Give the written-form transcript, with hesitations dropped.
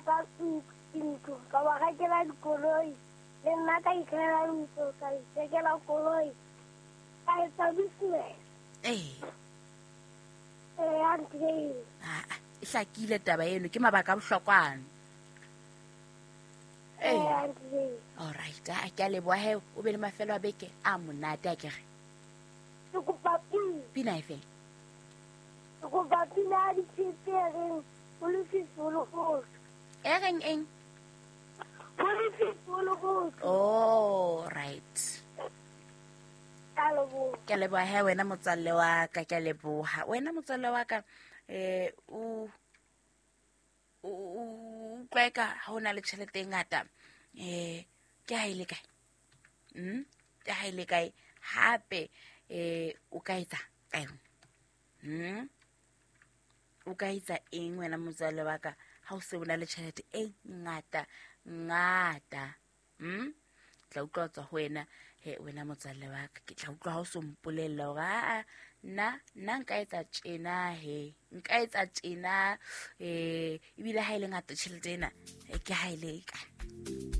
Ka ntlo, ka ba rekela dikoloi, le nna ka ikhela ntlo, ka ithekela koloi, ka etsa business. Ee. Ee, auntie Jane. Aa, e hlakile taba eno, ke mabaka a bohlokwa ano. Ee, auntie Jane. Alright, a ke a leboha he, o be le mafelo a beke a monate a kere. Ke kopa pina. Pina e feng? Ke kopa pina ya ditshepe e reng ho lefifi ho le hotle. E reng eng? Ho lefifi ho le hotle. Oh, right. Ke a leboha. Ke a leboha he wena motswalle wa ka, ke a leboha. Wena motswalle wa ka, o o utlwa eka ha o na le tjhelete e ngata, ke ha e le kae? Ke ha e le kae? Hape, o ka etsa ka yona? O ka etsa eng wena motswalle wa ka ha o se o na le tjhelete e ngata ngata? Tla utlwa ho tswa ho wena, he wena motswalle wa ka, ke tla utlwa ha o so mpolella hore aa, nna nka etsa tjena he, nka etsa tjena, ebile ha e le ngata tjhelete ena, ke ha e le kae?